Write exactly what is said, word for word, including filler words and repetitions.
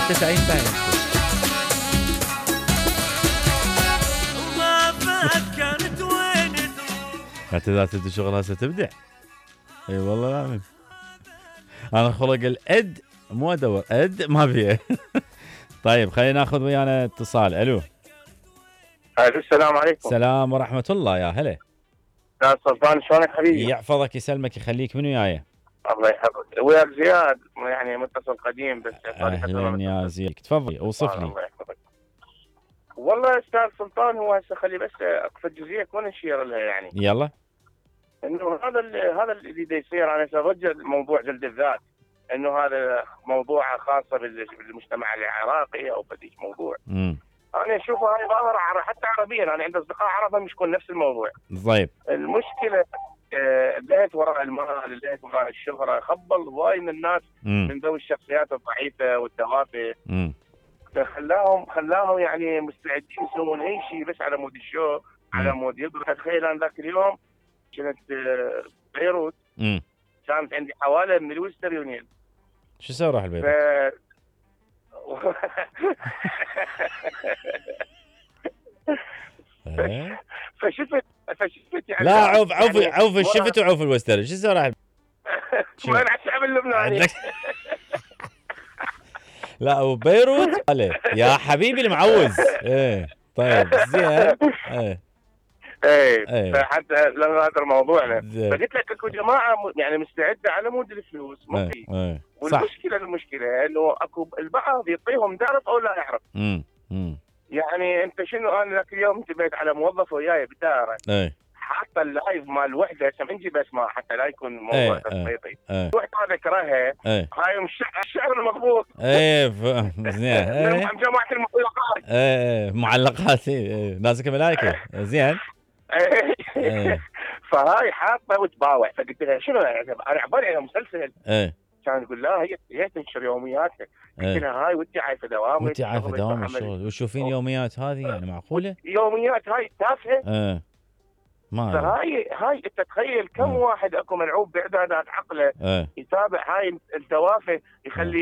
تسعين ثانية. حتى اذا تبدي شغل هسه تبدع. اي والله العظيم. انا خلق الاد مو ادور اد ما فيها. طيب خلينا ناخذ ويانا اتصال. الو. الو السلام عليكم. السلام ورحمة الله. يا هلا. استاذ سلطان شلونك حبيبي؟ يحفظك يسلمك يخليك. منو وياي؟ الله يحفظك. وياك زياد يعني متصل قديم بس اهلا يا زياد تفضل اوصف لي. الله يحفظك. والله استاذ سلطان هو هسه خلي بس اقصد جزئيه كون نشير لها يعني. يلا. انه هذا هذا اللي دا يصير انا ارجع موضوع جلد الذات انه هذا موضوع خاصه بالمجتمع العراقي او بديش موضوع. امم انا اشوفها هاي ظاهره حتى عربيا انا عندي اصدقاء عرب مش يكون نفس الموضوع. طيب. المشكله اللهت وراء المال، اللهت وراء الشهره، خبل وايد من الناس مم. من ذوي الشخصيات الضعيفه والتوافه. امم خلاهم خلاهم يعني مستعدين يسوون اي شيء بس على مود الشو، على مود يضرب. تخيل انا ذاك اليوم كنت بيروت. امم كانت عندي حواله من الويستر يونيون. شو سوى راح البيت؟ ف... فشفت فشفت يعني لا عوف عوف يعني عوف الشفت وعوف الوستر. شو سوى راح؟ ما على الشعب اللبناني. لا وبيروت يا حبيبي المعوز. ايه طيب زين. ايه ايه فحتى لما هذا موضوعنا فقلت لك اكو جماعه يعني مستعده على مود الفلوس ما في. ايه والمشكله المشكله انه اكو البعض يعطيهم تعرف او لا يعرف. امم امم يعني انت شنو انا ذاك اليوم انتبهت على موظف وياي بالدائره. ايه حاطه اللايف مال الوحده عشان نجيب اسماء حتى لا يكون موضوع تسليطي. ايه وحده ذكرها ايه هاي الشعر المضبوط. ايه زين. ايه جماعه المعلقات. ايه معلقات. ايه نازك ملائكه. زين. ايه فهاي حاطه وتباوع. فقلت لها شنو انا عبالي على مسلسل. ايه كان يقول لا هي هي تنشر يومياتها. قلت لها هاي وانت عايفه دوامك وانت عايفه دوام الشغل وتشوفين يوميات هذه يعني معقوله؟ يوميات هاي تافهه. ايه ما فهاي هاي انت تخيل كم اه. واحد اكو ملعوب باعدادات عقله اه. يتابع هاي التوافه يخلي